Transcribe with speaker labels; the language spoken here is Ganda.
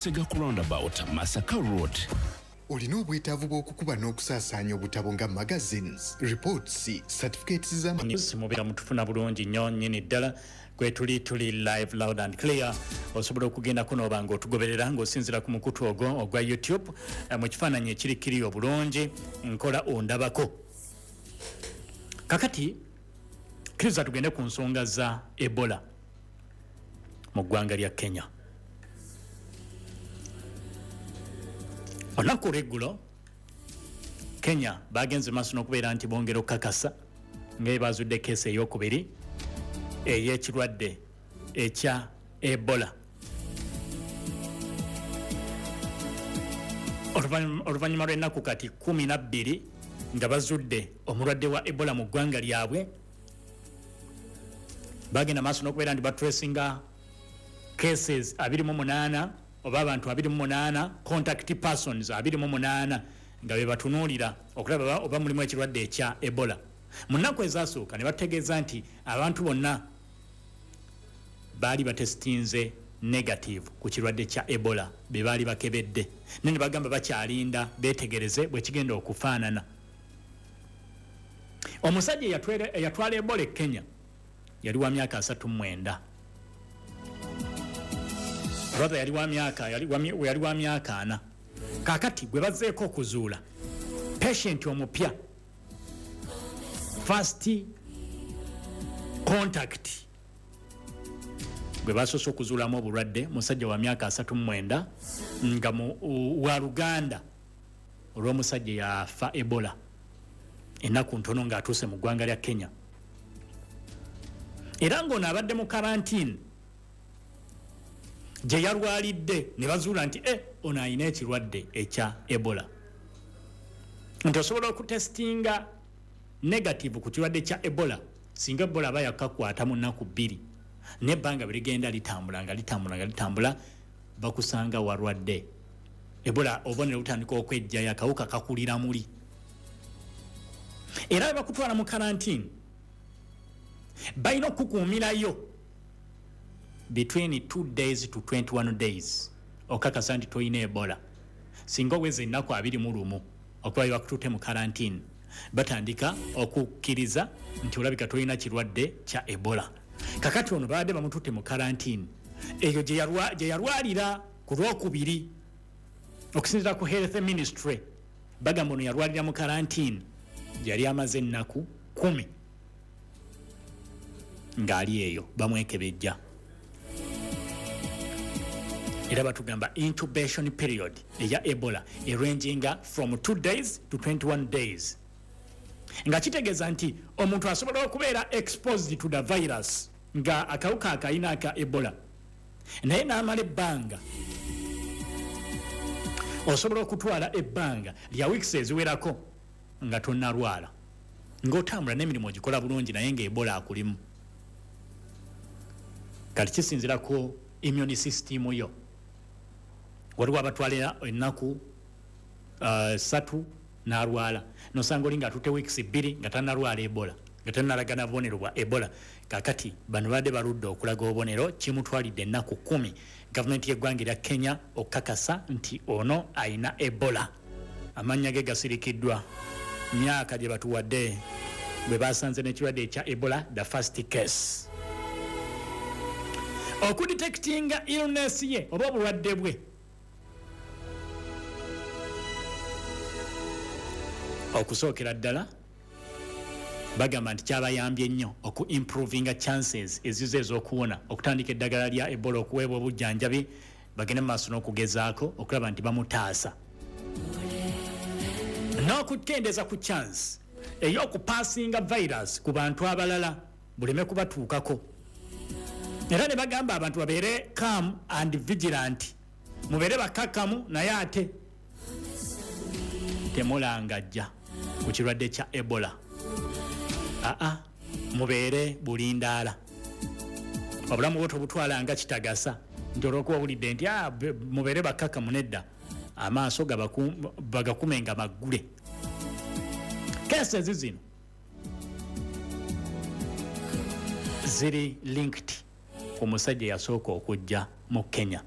Speaker 1: Sega ku roundabout, Masaka Road.
Speaker 2: Olina obwetaavu bw'okukuba n'okusaasaanya obutabo nga magazines, reports, certificates za
Speaker 3: News mubeera mutufuna bulungi nnyo nnyini ddala. Kwetuli tuli live, loud and clear. Osobola okugendako n'oba nga otugoberera ng'osinziira ku mukutu ogwo ogwa YouTube, mu kifaananyi ekiri kiri obulungi nkola ondabako. Kakati kkiriza tugende ku nsonga za Ebola mu ggwanga lya Kenya. Olunaku olweggulo Kenya bagenze maaso n'okubeera nti bongera okukakasa nga ebazudde keesi eyokubiri ey'ekirwadde ekya Ebola. Oluvannyuma lw'ennaku kati 12 nga bazudde omulwadde wa Ebola mu ggwanga lyabwe, bagenda maaso n'okubeera nti batracinga cases 28 oba abantu 28, contact persons 28 nga be batunuulira okulaba oba mulimu ekirwadde ekya Ebola. Mu nnaku ezasooka ne bategeeza nti abantu bonna baali batesitinze negative ku kirwadde kya Ebola be baali bakebedde, naye ne bagamba bakyalinda beetegereze bwe kigenda okufaanana. Omusajja eyatwala Ebola e Kenya yali wa myaka 39, brother yali wa myaka 40. Kakati gwe bazzeeko okuzuula patient omupya, first contact gwe basoose okuzuulamu obulwadde, musajja wa myaka 39 nga wa luganda olw'omusajja yafa Ebola ennaku ntono ng'atuuse mu ggwanga lya Kenya, era ng'ono abadde mu karantini gye yalwalidde ne bazuula nti ono alina ekirwadde ekya Ebola. Nti osobola okutesitinga negative ku kirwadde kya Ebola singa Ebola aba yakakwata mu nnaku 2, n'ebbanga bwe ligenda litambula nga litambula nga litambula, bakusanga walwadde Ebola, obubonero butandika okwejjayo, akawuka kakulira muli, era bwe bakutwala mu karantini balina okukuumirayo between 2 days to 21 days okakasa nti tolina Ebola. Singa oweza ennaku 21 okuba bye bakututte mu karantini, batandika okukkiriza nti olabika tolina kirwadde kya Ebola. Kakati ono babadde bamututte mu karantini eyo gye yalwalira ku Lwokubiri. Okusinziira ku health ministry, bagamba ono yalwalira mu karantini yali amaze ennaku 10 ng'ali eyo bamwekebejja, era batugamba incubation period eya Ebola eranginga from 2 days to 21 days, nga kitegeeza nti omuntu asobola okubeera exposed to the virus nga akawuka akayina aka Ebola, naye n'amala ebbanga, osobola okutwala ebbanga lya weeks eziwerako nga tonnalwala, ng'otambula n'emirimu ogikola bulungi, naye nga Ebola akulimu. Kati kisinziira ku immune system yo. Waliwo abatwalira ennaku 3 n'alwala, nosanga oli ng'atutte weeks 2 nga tannalwala Ebola, nga tannalaga na bubonero bwa Ebola. Kakati bano badde baludde okulaga obubonero, kimutwalidde ennaku 10 gavumenti y'eggwanga erya Kenya okukakasa nti ono ayina Ebola. Amannya ge gasirikiddwa, myaka gye batuwadde bwe basanze n'ekirwadde ekya Ebola, the first case. Okudetectinga illness ye oba obulwadde bwe okusookera ddala, bagamba nti kyabayambye nnyo oku improvinga chances ezizo ez'okuwona, okutandika eddagala lya Ebola, okuweebwa obujjanjabi, bagende mu maaso n'okugezaako okulaba nti bamutaasa n'okukendeeza ku chance ey'okupaasinga virus ku bantu abalala buleme kubatuukako. Era ne bagamba abantu babeere calm and vigilant, mubeere bakakkamu, naye ate temulangajja ku kirwadde kya Ebola. Aa, mubeere bulindaala, obulamu bwo tobutwala nga kitagasa nti olwokuba owulidde nti mubeere bakakkamu. Nedda, amaaso bagakume nga maggule. Cases zino ziri linked ku musajja eyasooka okujja mu Kenya.